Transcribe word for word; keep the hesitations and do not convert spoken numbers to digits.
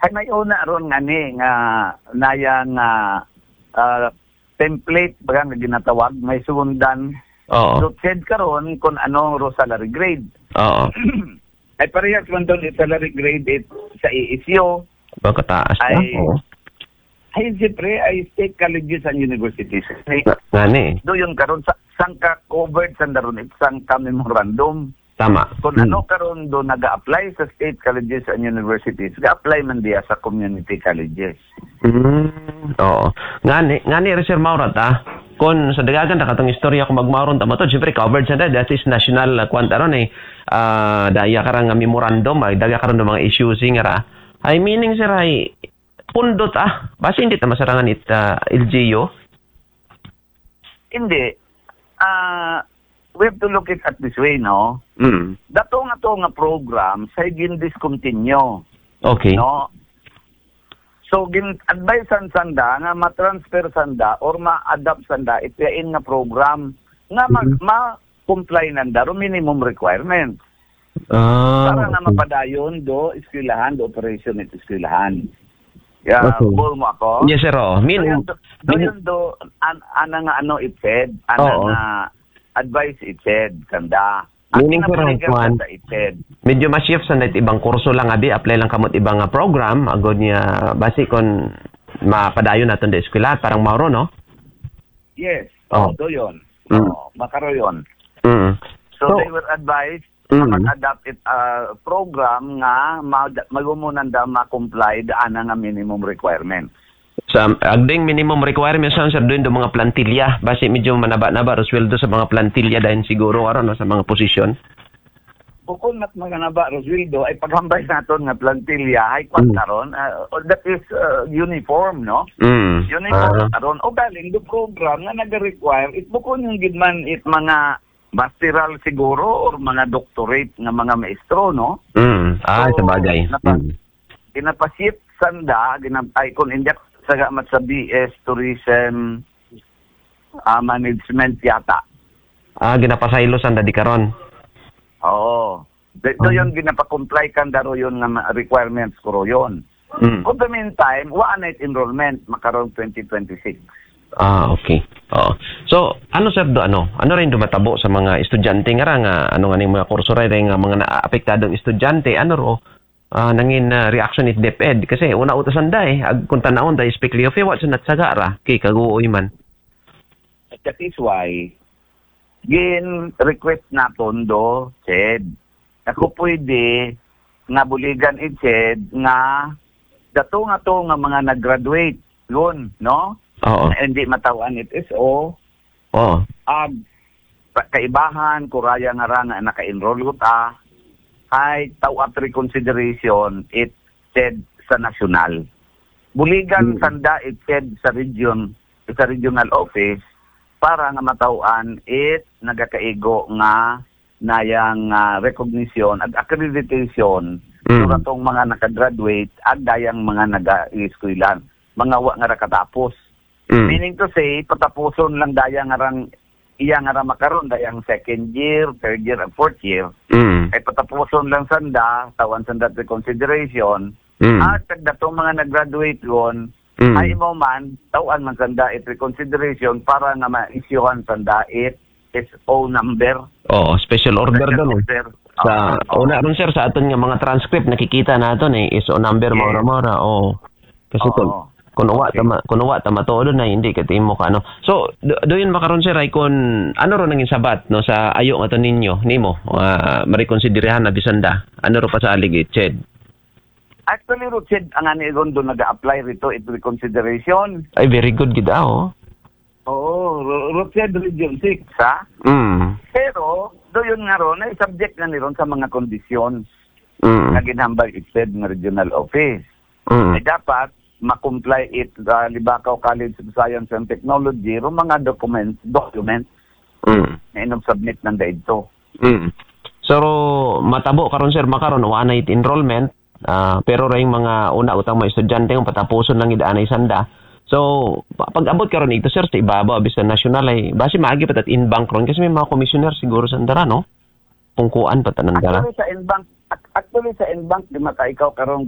Ay, may una ron nga ni, nga naya nga, ah, template, baga nga ginatawag, may sundan. Oo. So, said karon kung ano ro salary grade. Oo. Ay, parehas man doon yung salary grade it, sa E S U. Baka taas pa? Ay, Oo. Ay, siyempre, ay state colleges and universities. Ay, Nga ni. Do yun karon sa sangka covered sa daron it sangka memorandum. Tama. Kung Hmm. ano karon do nag-a-apply sa state colleges and universities, ga-apply man diya sa community colleges. Hmm. Oo. Nga ni, nga ni, Sir Maurat, ah. Kung sa dagagan na katong istorya kung magmauron tama to, siyempre covered sa that is national, ah, kwan ta ron eh. Ah, daya ka ra nga memorandum, ay daga karon ng mga issues nga ra. Ay meaning, sir, ay pundot, ah. Basi hindi ta masarangan it, ah, L G U. Hindi. Ah, we have to look it at this way, no? Mm. Dato nga to nga program, sa gin-discontinue. Okay. No? So, gin-advise san sanda nga ma-transfer sanda or ma-adapt sanda itiyain nga program nga ma- Mhm. ma-comply nanda ro minimum requirements. Ah, Para nga okay. mapadayon do eskwelahan, do operation it eskwelahan. Ya, Okay. Bol mo ako? Yes, sir, oo. Min- Do yun do, do min- yun do, an, ana nga ano it said, ana Oo. nga advice it said, kanda. Meaning, Ang sir, ang kinabuligan kwan, kanda it said. Medyo ma-shift sa ibang kurso lang, abi, apply lang kamot ibang nga program, agod niya, basi kon mapadayon naton da eskwela, parang mauro, no? Yes. Oh. Oh, do yun. Mm. Oh, makaro yun. Mm. So, So, they were advised Mm. na mag-adapt it, ah, program nga ma-, magumunan da ma-comply da ana nga minimum requirements. Sa agding minimum requirements, sir, doon do mga plantilya. Basi medyo manaba-naba ro sweldo sa mga plantilya dahil siguro, aron, no, sa mga posisyon. Bukon mat maganaba ro sweldo, ay paghambay naton nga plantilya, ay kwan Mm. karon, ah, that is, ah, uniform, no? Mm. Uniform Ah. karon. O galing do program nga nag-require, it bukon yung gid man it mga masteral siguro or mga doctorate nga mga maestro, no? Mm. Ah, So, sa bagay. napa-, Mm. ginapasit sanda, ginab-, ay, kung hindi ako saga mat sa B S Tourism, ah, Management yata. Ah, ginapasaylo sanda di karon. Oo. Dito Ah. yun, ginapakomply kanda ro yun nga ma-, requirements ko ro yun. Mm. For the meantime, wa na it enrollment, makaron twenty twenty-six. Ah, okay. Oo. So, ano, sir, do, ano? Ano rin dumatabo sa mga estudyante nga ra nga, ano nga ning mga kurso ra, nga mga naapektadong estudyante, ano ro, ah, nangin, ah, reaction it DepEd? Kasi una uta sanda eh, ag, kung tanawon da, especially of what sa natsaga ra, kay kaguoy man. That is why, gin-request naton do, said, ako pwede nga buligan it said nga dato nga to nga mga nag-graduate yun, no? Oo. Na hindi matawan it S O, Oo. ag pa-, kaibahan, kuraya nga ra nga naka-enroll ko ta, ay tawat reconsideration it said sa national. Buligan Mm. sanda it said sa region, sa regional office para nga matawan it nagakaigo nga nayang, ah, recognition ag accreditation Mm. sa atong mga nakagraduate ag dayang mga naga-eskwela, mga wa nga ra katapos. Mm. Meaning to say, patapuson lang dayang nga rang, iya nga ra makaron, dayang second year, third year, ag fourth year. Mm. Ay patapuson lang sanda, tawan sanda it reconsideration. Mm. At kag datong mga nag-graduate ron, Mm. ay mo man, tawan man sanda it reconsideration para nga ma-issuehan sanda it S O number. Oo, special order Special doon eh. order. Sa Oo. una ron, sir, sa aton nga mga transcript, nakikita naton eh, S O number, Yes. maura-maura. Oo. Kasi Oo. kung, kung uwa Okay. tama, kung uwa tama to doon na hindi ka timo ka ano. So, do, do yun makaron, sir, ay kung ano ron nangin sabat, no, sa ayo nga to ninyo, nimo, ah, marikonsiderahan na bisanda. Ano ro pasalig it said? Actually, Richard, ang ani ron do nag-a-apply rito, it reconsideration. Ay, very good gid, ah, oh. Oo, Ro-, Richard Region six, ha? Mm. Pero, do yun nga ron, ay subject nga ni ron sa mga kondisyon Mm. nga ginhambal it said nga regional office. Mm. Ay dapat, ma-comply it, ah, Libacao College of Science and Technology, ro mga document, document Mm. na inong submit ng daito. Mm. So, matabo karon, sir, makaron, wa na it enrollment, ah, pero ring mga una utang mga estudyante nga patapuson lang id anay sanda. So, pa-, pag-abot karon ito, sir, sa ibabaw, abis sa nasyonal ay, basi maagi pa tat inbank ron, kasi may mga commissioner siguro sa andara, no? Pungkuan pa tanandara. Actually, sa inbank, ac-, actually, sa inbank, di maka ikaw karon